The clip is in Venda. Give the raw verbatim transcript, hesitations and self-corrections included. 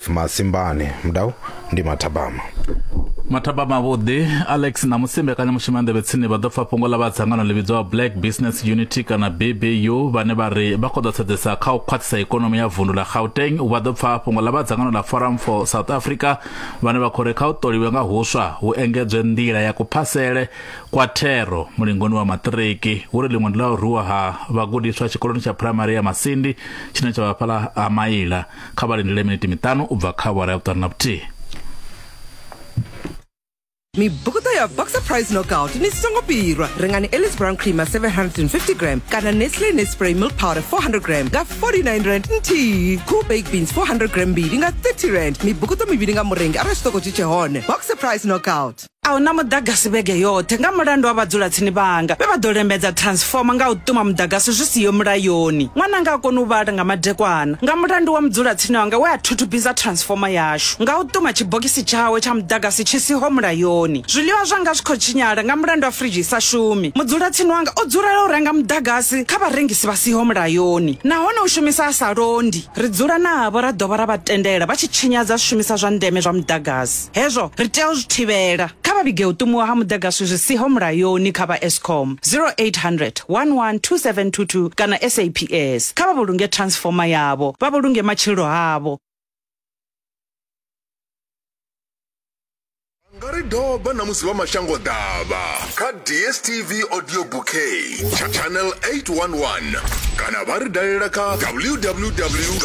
Joseph Masimbane. Mudau ndi mathabama. Mathabama vhuḓi Alex na musi mbekanyamushumo ya nḓevhe tsini vha ḓo pfa fhungo ḽa vha dzangano ḽi vhidzwaho Black Business Unity kana B B U vhane vha ri vha khou ḓo sedzesa kha u khwaṱhisa ikonomi ya vundu ḽa Gauteng. Vha ḓo pfa fhungo ḽa vha dzangano ḽa Forum for South Africa vhane vha khou ri kha u ṱoliwe nga huswa hu engedzwe nḓila ya kuphasele kwa thero mulingoni wa maṱiriki. Hu ri ḽiṅwe ndi ḽa u rwiwa ha vhagudiswa tshikoloni tsha phuraimari ya Masindi tshine tsha vha fhaḽa ha Maila. Kha vha lindele miniti miṱanu u bva kha awara ya vhuṱanu na vhuthihi. Mibukuto ya Boxer Price Knockout ni songo pirwa. Rengani Ellis Brown Creamer seven hundred fifty gram kana Nestle Nespray Milk Powder four hundred gram nga forty-nine rand nthihi. Cool Baked Beans four hundred gram mbili nga thirty rand. Mibukuto mivhili nga murengi arali tshiṱoko tshi tshe hone. Boxer Price Knockout. A huna muḓagasi vhege yoṱhe nga mulandu wa vhadzulatsini vhanga vhe vha ḓo lembedza transformer nga u ṱuma muḓagasi zwi siho mulayoni. Ṅwananga a koni u vhala nga madekwana nga mulandu wa mudzulatsini wanga we a thuthubisa transformer yashu nga u ṱuma tshibogisi tshawe tsha muḓagasi tshi siho mulayoni. Zwiḽiwa zwanga zwi khou tshinyala nga mulandu wa fridge i sa shumi. Mudzulatsini wanga o dzulela u renga muḓagasi kha vharengisi vha siho mulayoni nahone u shumisa a sa londi. Ri dzula navho ra dovha ra vha tendela vha tshi tshinyadza zwishumiswa zwa ndeme zwa muḓagasi. Hezwo ri tea u zwi thivhela. Kha vha vhige u ṱumiwa ha muḓagasi zwi siho mulayoni kha vha Eskom zero eight hundred one one two seven two two kana S A P S. Kha vha vhulunge transformer yavho, vha vhulunge matshilo avho. Nga ri doba na musi vha mashango ḓavha kha D S T V Audio Bouquet channel eight one one kana vha ri dalela kha w w w